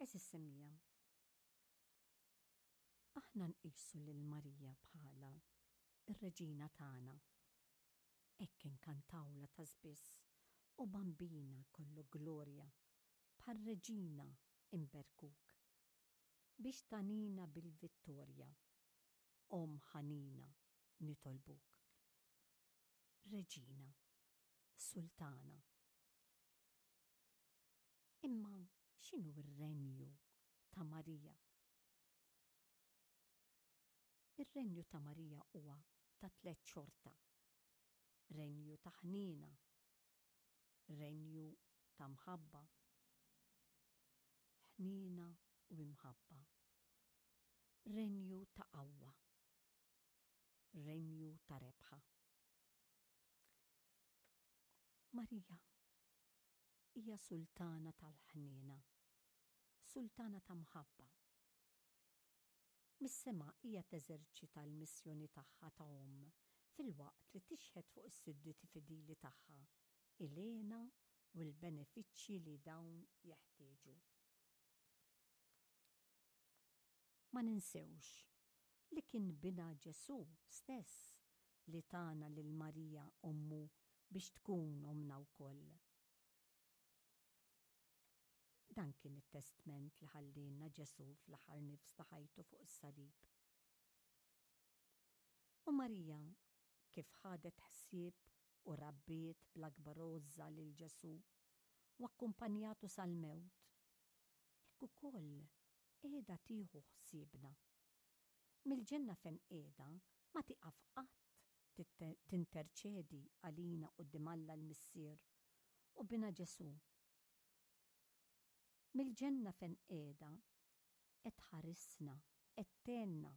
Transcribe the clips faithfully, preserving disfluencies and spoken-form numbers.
Għeżież semmiegħa, aħna nqisu lil Marija bħala r-reġina tagħna. Hekk inkantawlha ta' spiss, O Bambina kollu glorja, bħal reġina imberkuk. Biex tagħnina bil-vittorja, Omm ħanina nitolbuk. Reġina, Sultana. Imma x'inhu r-renju ta' Marija? Ir-renju ta' Marija huwa ta' tliet xorta. Renju ta' ħniena, renju ta' mħabba, ħniena u imħabba, renju ta' qawwa, renju ta' rebħa. Marija hija sultana tal-ħniena, sultana ta' mħabba. Mis-sema hija teżerċita l-missjoni tagħha ta' omm filwaqt li tixħet fuq is-sudditi fidili tagħha il-hena u l-benefiċċji li dawn jeħtieġu. Ma ninsewx li kien binha Ġesù stess li tana lil Marija ommu biex tkun ommna wkoll. Dan kien it-testment li ħallielna Ġesù fl-aħħar nifs ta' ħajtu fuq is-salib. U Marija kif ħadet ħsieb u rabbiet bl-akbar għożża lil Ġesù u akkumpanjatu sal-mewt, hekk ukoll qiegħda tieħu ħsiebna. Mill-ġenna fejn qiegħda ma tieqaf qatt tinterċedi għalina quddiem Alla l-Missier u Binha Ġesù. Mill-ġenna fejn qiegħda qed tħarisna, qed tgħinna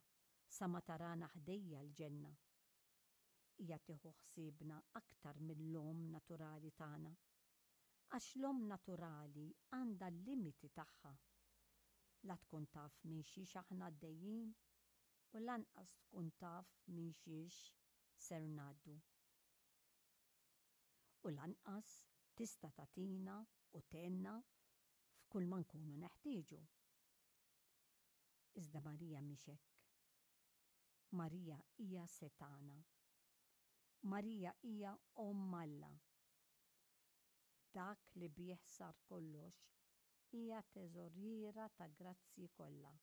sa ma tarana ħdejja l-ġenna. Hija tieħu ħsiebna aktar mill-omm naturali tagħna. Għax l-omm naturali għandha l-limiti tagħha. La tkun taf minn xiex aħna għaddejjin u lanqas tkun taf minn xiex ser ngħaddu. U lanqas tista' tagħtina u tgħinna f'kull ma nkunu neħtieġu. Iżda Marija mhix hekk. Marija hija setgħana. Marija hija Omm Alla. Dak li bih sar kollox, hija teżoriera ta' grazzji kollha.